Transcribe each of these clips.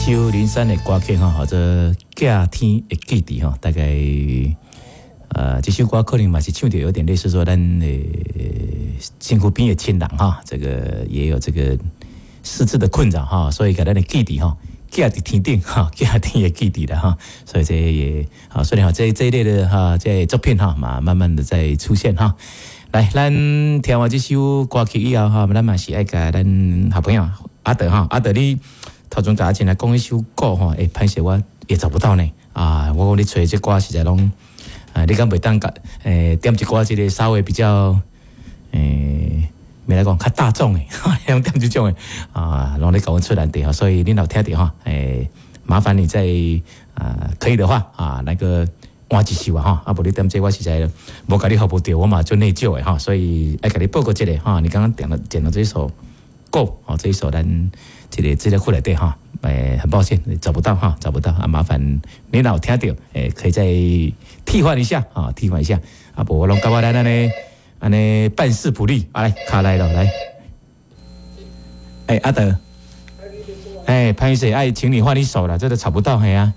首林珊的歌曲吼，叫做《寄天的记忆》吼，大概這首歌可能嘛是唱著有點類似說咱的身軀邊的親人哈，這個也有這個失智的困擾哈，所以共咱的記憶吼，寄佇天頂哈，寄天的記憶啦哈，所以這也啊，雖然這一類的哈，這作品哈嘛，慢慢的在出現哈。來，咱聽完這首歌曲以後哈，咱嘛是愛共咱好朋友阿德哈，阿德你頭前共阿前來講一首歌吼，欸，歹勢我也找不到呢啊！我講你揣這歌實在攏啊，你敢袂當共點一寡這個稍微比較咩來講較大眾的，用點這種的啊，攏咧共阮出難題吼，所以你若有聽著吼，麻煩你再啊，可以的話啊，那個換一首啊吼，啊無你點這我實在無共你服務著，我嘛足內疚的吼，所以愛共你報告一下吼，你剛剛點了這首歌哦，這一首咱這個資料庫內底哈，很抱歉找不到哈，找不到啊，麻煩你若有聽著，可以再替換一下啊，替換一下啊，無我攏感覺咱按呢按呢辦事不力，啊來卡來了來，阿德，歹勢愛請你換一首啦，這個找不到係啊。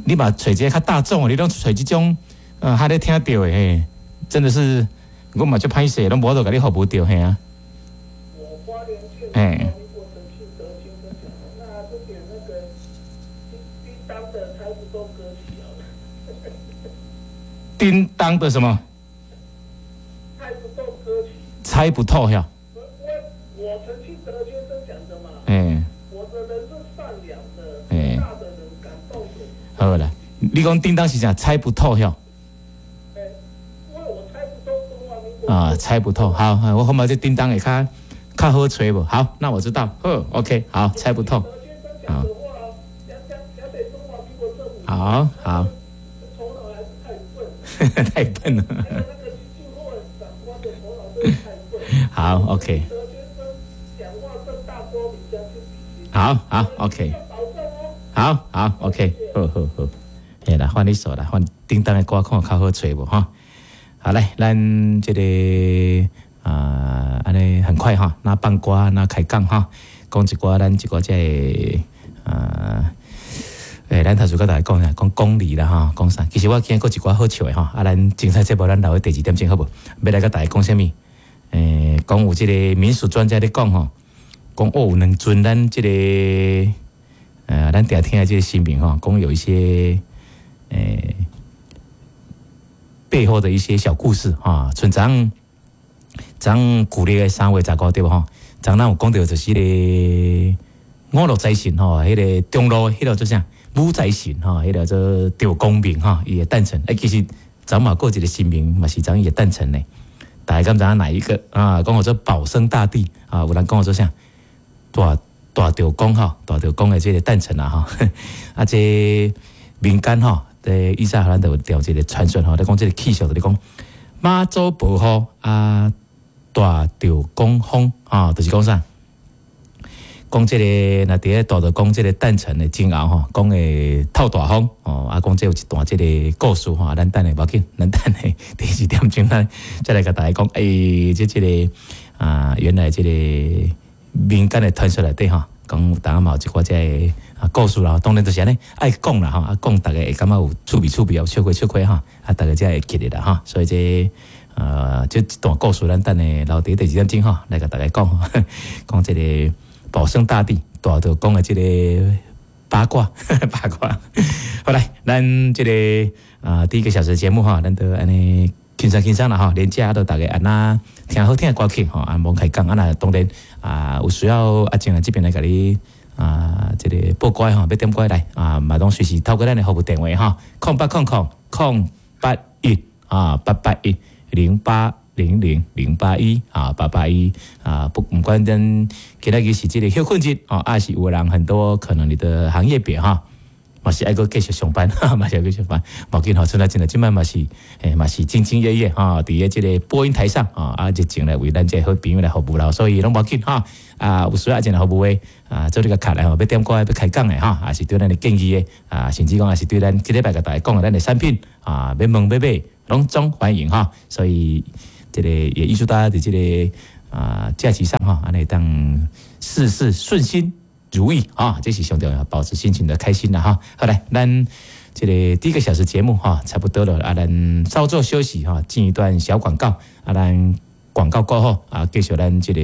你嘛揣這個較大眾，你攏揣這種，較咧聽著的嘿，真的是我嘛足歹勢，攏無法度共你服務著嘿啊。哎。那就點那個叮當的猜不透歌曲好了。叮當的什麼？猜不透歌曲。猜不透呀。我陳慶德先生講的嘛。我的人是善良的，大的人感動的。好啦，你講叮當是啥？猜不透呀。因為我猜不透中華民國。啊，猜不透。好，我後面這叮當會較較好揣無？好，那我知道。好，OK，好，猜不透。好。好好。太笨了。好，OK。好好，OK。好好，OK，好好好。嘿啦，換一首啦，換叮當的歌，看較好揣無哈？好來，咱這個啊，按呢很快哈，那放歌，那開講哈，講一寡咱一寡這個啊。咱頭先佮大家講啥？講公理啦，吼，講啥？其實我今日閣一寡好笑的吼，啊，咱精彩節目咱留佇第二點鐘好無？欲來共大家講啥物？講有這個民俗專家咧講吼，講哦，有兩尊咱這個咱定聽的這個神明吼，講有一些背後的一些小故事哈。像昨昨舊曆的3月15對無吼？昨咱有講著就是個五路財神吼，彼個中路彼個做啥？武財神吼，彼個做趙公明吼，伊的誕辰。其實昨嘛閣一個神明嘛是昨伊的誕辰呢。大家敢知影哪一個啊？講號做保生大帝啊，有人講號做啥？大大趙公吼，大趙公的這個誕辰啊吼。啊，這民間吼，佇以前咱就有調這個傳說吼，咧講這個氣象，就咧講媽祖婆吼啊，大趙公風啊，就是講啥？講這個若佇咧大趙公這個誕辰的前後吼，講會透大風哦，啊，講這有一段這個故事吼，咱等下無要緊，咱等下第二點鐘咱再來共大家講。這個啊，原來這個民間的傳說內底吼，講有當嘛有一寡這個啊故事啦，當然就是按呢愛講啦吼，啊講逐家會感覺有趣味趣味，有笑詼笑詼吼，啊逐家才會記得啦吼，所以這這一段故事咱等下留佇第二點鐘吼，來共大家講講這個保生大帝大趙公的這個八卦八卦。好來，咱這個啊第一個小時節目哈，咱都按呢輕鬆輕鬆啦吼，連假都逐家按呢聽好聽的歌曲吼，啊罔開講啊，若當然啊有需要阿靜啊這邊來共你啊這個報歌吼，欲點歌來啊，嘛攏隨時透過咱的服務電話吼，0800 081啊881 0800 081啊881啊，不毋管咱今仔日是這個歇睏日哦，抑是有人很多可能你的行業別哈，嘛是愛閣繼續上班，嘛是愛繼續上班，無緊吼，賰阿靜啊，這擺嘛是，嘛是兢兢業業哈，佇咧這個播音台上啊，啊，熱情來為咱這個好朋友來服務啦，所以攏無緊哈，啊，有需要阿靜來服務的，啊，做你共敲來吼，欲點歌欲開講的哈，抑是對咱的建議的，啊，甚至講抑是對咱這禮拜共大家講的咱的產品啊，欲問欲買，攏總歡迎哈，所以這個也預祝大家佇這個啊假期上哈，按呢會當事事順心。如意啊，這是上重要，保持心情的開心啦哈。好來，咱這個第一個小時節目哈，差不多了啊，咱稍作休息哈，進一段小廣告啊，咱廣告過後啊，繼續咱這個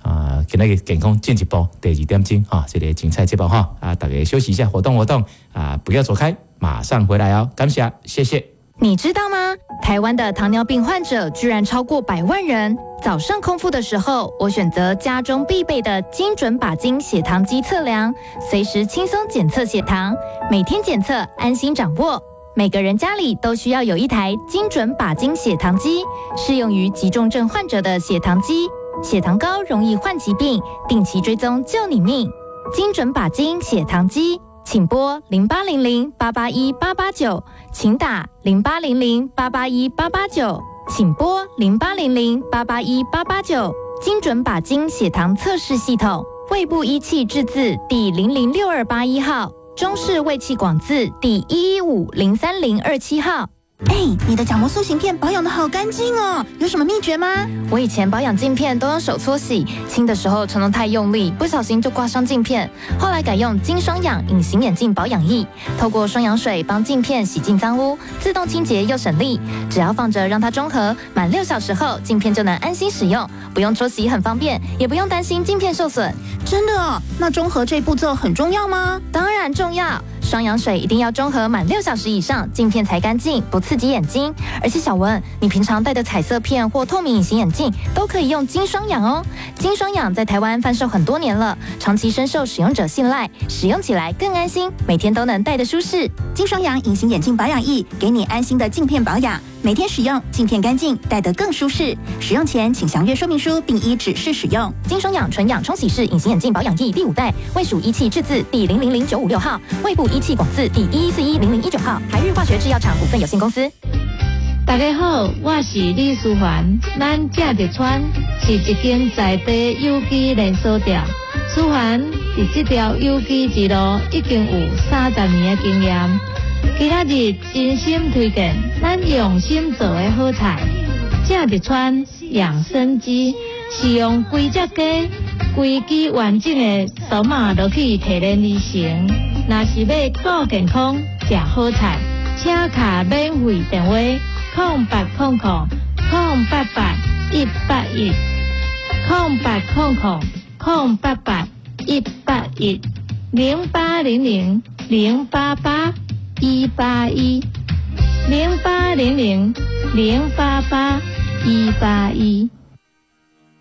啊，今仔日健康進一步第二點鐘哈，這個精彩節目哈啊，大家休息一下，活動活動啊，不要走開，馬上回來哦，感謝，謝謝。你知道嗎？台灣的糖尿病患者居然超過100萬人。早上空腹的時候，我選擇家中必備的精準靶金血糖機測量，隨時輕鬆檢測血糖，每天檢測，安心掌握。每個人家裡都需要有一台精準靶金血糖機，適用於急重症患者的血糖機。血糖高容易患疾病，定期追蹤救你命。精準靶金血糖機。請撥0800-881-889，請打0800-881-889，請撥0800-881-889。精準靶金血糖測試系統，衛部醫器製字第006281號，中市衛器廣字第11503027號。哎，你的角膜塑形片保養得好乾淨哦，有什麼秘訣嗎？我以前保養鏡片都用手搓洗，清的時候常常太用力，不小心就刮傷鏡片。後來改用金雙氧隱形眼鏡保養液，透過雙氧水幫鏡片洗淨髒污，自動清潔又省力。只要放着讓它中和，滿6小時後鏡片就能安心使用，不用搓洗很方便，也不用擔心鏡片受損。真的哦？那中和這步驟很重要嗎？當然重要。雙氧水一定要中和滿6小時以上，鏡片才乾淨，不刺激眼睛。而且小文，你平常戴的彩色片或透明隱形眼鏡都可以用金雙氧哦。金雙氧在台灣販售很多年了，長期深受使用者信賴，使用起來更安心，每天都能戴得舒適。金雙氧隱形眼鏡保養液，給你安心的鏡片保養，每天使用鏡片乾淨，戴得更舒適。使用前請詳閱說明書並依指示使用。金雙氧純氧沖洗式隱形眼鏡保養液第五代，衛署醫器製字第000956號，衛部醫器廣字第11410019號，台日化學製藥廠股份有限公司。大家好，我是李淑環，咱食日川是一間在地有機連鎖店。淑環佇這條有機之路已經有30年的經驗。今仔日真心推薦咱用心做的好菜，食日川養生雞是用規隻雞、規支完整的肚仔落去提煉而成。若是欲顧健康、食好菜，請敲免費電話：0800-088-181，0800-088-181，0800-088-181，0800-088-181。